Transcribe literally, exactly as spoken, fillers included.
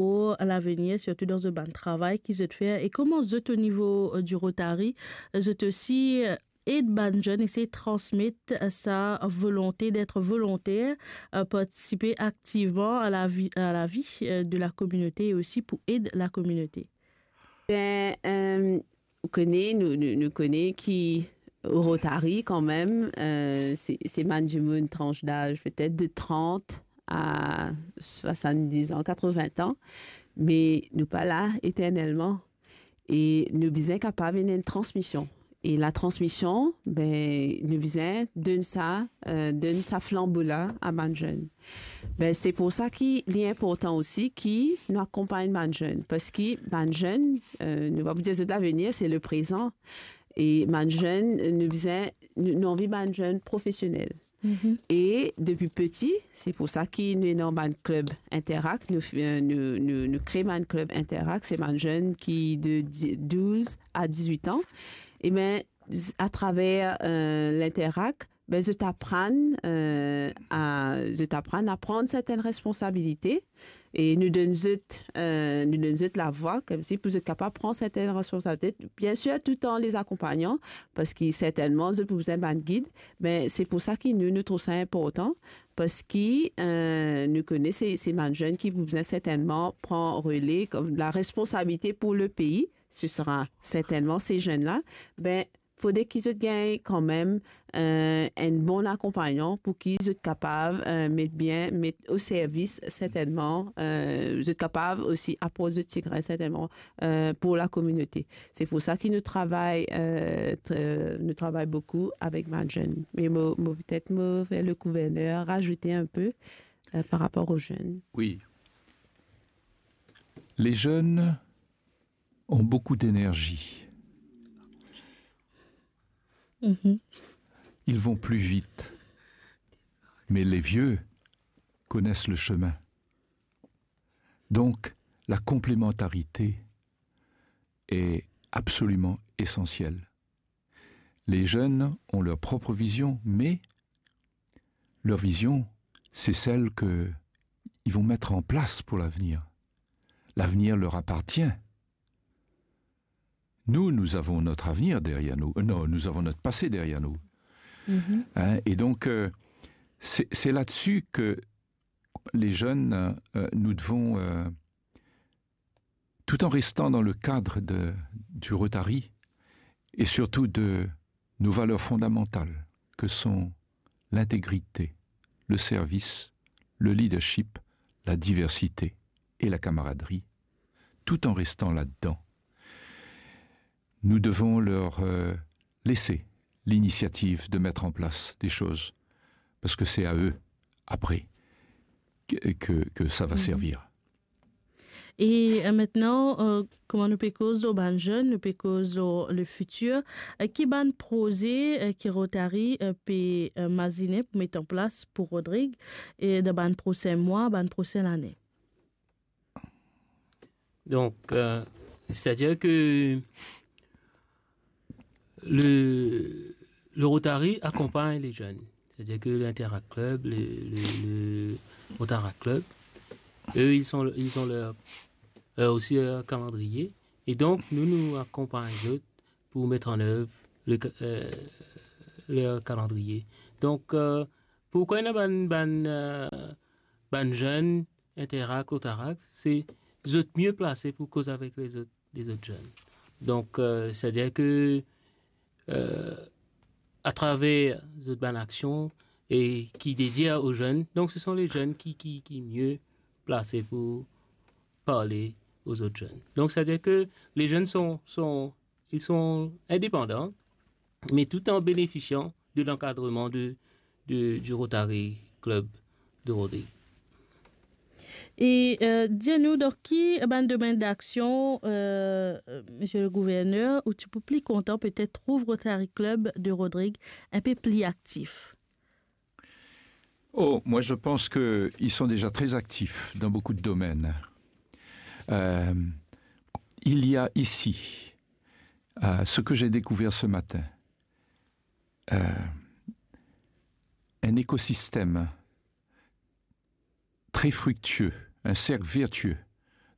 pour l'avenir, surtout dans zot bann travay ki zot fer, e kouma zot, o nivo, euh, du Rotary, zot osi, euh, ed bann zenn, esey transmet, euh, sa volonte d'être volontaire, euh, participer activement à la vie, à la vie, euh, de la communauté et aussi pour aider la communauté. Ben, euh, ou connais, nous, nous, nous connais qui au Rotary quand même, euh, c'est, c'est bann dimoun tranche d'âge peut-être de trente à soixante-dix ans, quatre-vingts ans, mais nous pas là éternellement. E nou bizin kapav ena enn transmision. E la transmision, ben, nou bizin donn sa, euh, donn sa flanbo la a bann zenn. Ben, se pour sa ki li inportan osi ki nou akonpagn bann zenn. Parski bann zenn, euh, nou pa pou dir zot lavenir, se le prezan. E bann zenn, nou bizin, nou, nou anvi bann zenn profesionel. Mhm. E depi piti, se pour sa ki nou ena bann klub Interact, nou, euh, nou, nou, nou kre bann klub Interact, se bann zenn ki de di-, douz a dizwit an. E ben, z-, atraver, euh, l'Interact, ben, zot aprann, euh, a, zot aprann a pran sertenn responsabilite. E nou donn zot, euh, nou donn zot lavwa, koumsi pou zot kapav pran sertenn responsabilite. Bien sûr, tout en les accompagnant, parski sertennman, zot pou bizin bann gid, me se pour sa ki nou, nou trouv sa inportan, parski, euh, nou kone se, se bann zenn ki pou bizin sertennman pran rele, kom la responsabilite pour le pays, ce sera certainement ces jeunes-là, ben, fode ki zot gagn kanmem, euh, enn bon akonpagnan pour ki zot kapav, euh, met bien, met o servis sertennman, euh, zot kapav osi aport zot ti grin sertennman, euh, pour la communauté. Se pour sa ki nou travay, euh, tr-, nou travay boukou avek bann zenn. Me mo, mo, petet mo fer le gouverner razout enn pe, euh, par rapor o zenn. Oui. Les jeunes ont beaucoup d'énergie. Mhm. Ils vont plus vite. Mais les vieux connaissent le chemin. Donc, la complémentarité est absolument essentielle. Les jeunes ont leur propre vision, mais leur vision, c'est celle que ils vont mettre en place pour l'avenir. L'avenir leur appartient. Nous, nous avons notre avenir derrière nous. Euh, non, nous avons notre passé derrière nous. Mhm. Hein, et donc, euh, c'est, c'est là-dessus que les jeunes, euh, nous devons, euh, tout en restant dans le cadre de, du Rotary et surtout de nos valeurs fondamentales que sont l'intégrité, le service, le leadership, la diversité et la camaraderie, tout en restant là-dedans. Nous devons leur, euh, laisser l'initiative de mettre en place des choses, parce que c'est à eux, après, que, que, que ça va servir. E, euh, aster, euh, kouma nou pe koz lor bann zenn, nou pe koz lor le fitir, euh, ki bann proze, euh, ki Rotary, euh, pe, euh, mazine pou met an plas pou Rodrig, e dan bann prosin mwa, bann prosin lane? Donc, euh, c'est-à-dire que le, le Rotary accompagne les jeunes. C'est-à-dire que l'Interact Club, le, le, le Rotaract Club, eux, ils sont, ils ont leur, euh, aussi leur calendrier. Et donc, nous, nous accompagnons eux pour mettre en œuvre le ca-, euh, leur calendrier. Donc, euh, pourquoi il y a bann, bann, euh, bann zenn Interact, Rotaract, se zot mie plase pou koz avek lezot, lezot zenn. Donk, euh, c'est-à-dire que, euh, atraver zot bann aksion e ki dedie o zenn, donk se son le zenn ki, ki, ki mie plase pou parle o zot zenn. Donc, c'est-à-dire que les jeunes sont, sont, ils sont indépendants, mais tout en bénéficiant de l'encadrement de, de, du Rotary Club de Rodrig. E, euh, dir nou, dan ki bann domenn daksion, euh, euh, Monsieur le Gouverneur, ou ti pou pli kontan petet trouv Rotary Club de Rodrig inpe pli aktif? Oh, moi, je pense qu'ils sont déjà très actifs dans beaucoup de domaines. Euh, il y a ici, euh, ce que j'ai découvert ce matin, euh, un écosystème très fructueux, un cercle vertueux,